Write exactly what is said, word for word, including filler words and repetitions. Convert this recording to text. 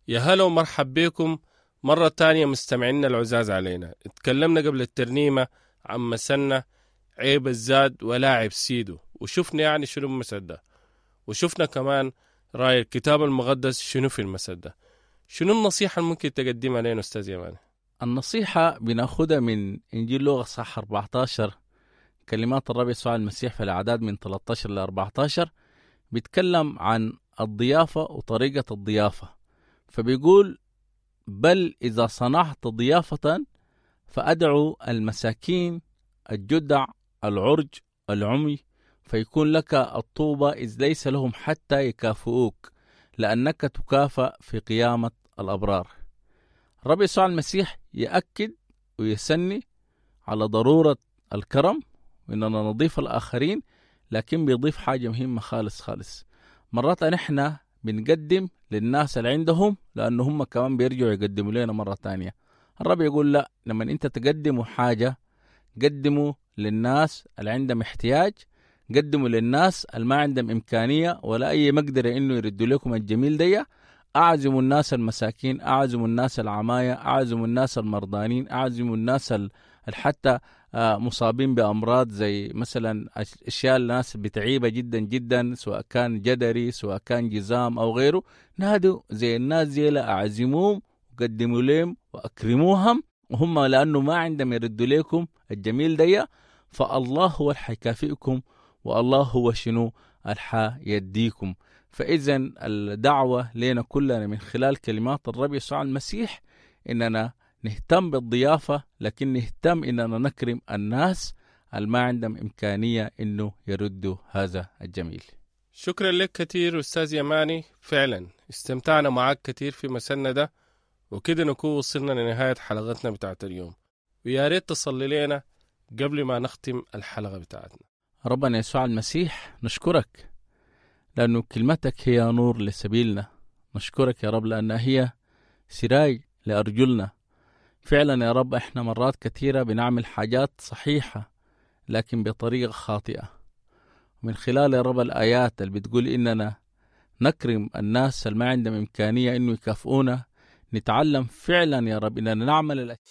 يا هلا ومرحب بكم مرة تانية مستمعينا العزاز علينا. اتكلمنا قبل الترنيمة عن مثلنا عيب الزاد ولا عيب سيدو، وشفنا يعني شنو المثل ده، وشفنا كمان رأي الكتاب المقدس شنو في المثل ده. شنو النصيحة اللي ممكن تقدمها لنا أستاذ يماني؟ النصيحة بناخدها من إنجيل لوقا صح أربعتاشر، كلمات الرب يسوع المسيح في الأعداد من تلتاشر ل أربعتاشر، بيتكلم عن الضيافة وطريقة الضيافة. فبيقول: بل إذا صنعت ضيافة فأدعو المساكين، الجدع، العرج، العمي، فيكون لك الطوبى إذ ليس لهم حتى يكافئوك، لأنك تكافأ في قيامة الأبرار. الرب يسوع المسيح يأكد ويسني على ضرورة الكرم وإننا نضيف الآخرين، لكن بيضيف حاجة مهمة خالص خالص. مرات نحن بنقدم للناس اللي عندهم لأنه هم كمان بيرجعوا يقدموا لنا مرة تانية. الرب يقول لا، لما أنت تقدموا حاجة قدموا للناس اللي عندهم احتياج، قدموا للناس اللي ما عندهم إمكانية ولا أي مقدرة إنه يردوا لكم الجميل دي. أعزموا الناس المساكين، أعزموا الناس العماية، أعزموا الناس المرضانين، أعزموا الناس حتى مصابين بأمراض زي مثلا أشياء الناس بتعيبة جدا جدا، سواء كان جدري سواء كان جزام أو غيره. نادوا زي الناس زي لا، أعزموهم وقدموا لهم وأكرموهم، وهم لأنه ما عندهم يردوا لكم الجميل دي، فالله هو الحيكافئكم والله هو شنو الحا يديكم. فإذا الدعوة لنا كلنا من خلال كلمات الرب يسوع المسيح إننا نهتم بالضيافة، لكن نهتم إننا نكرم الناس اللي ما عندهم إمكانية إنه يردوا هذا الجميل. شكرا لك كثير أستاذ يماني، فعلا استمتعنا معك كثير في مسنا ده، وكده نكون وصلنا لنهاية حلقتنا بتاعت اليوم، ويا ريت تصلي لنا قبل ما نختم الحلقة بتاعتنا. ربنا يسوع المسيح نشكرك لأنه كلمتك هي نور لسبيلنا، نشكرك يا رب لأنها هي سراج لأرجلنا. فعلا يا رب احنا مرات كثيرة بنعمل حاجات صحيحة لكن بطريقة خاطئة. من خلال يا رب الآيات اللي بتقول إننا نكرم الناس اللي ما عندهم إمكانية إنه يكافئونا، نتعلم فعلا يا رب إننا نعمل الأشياء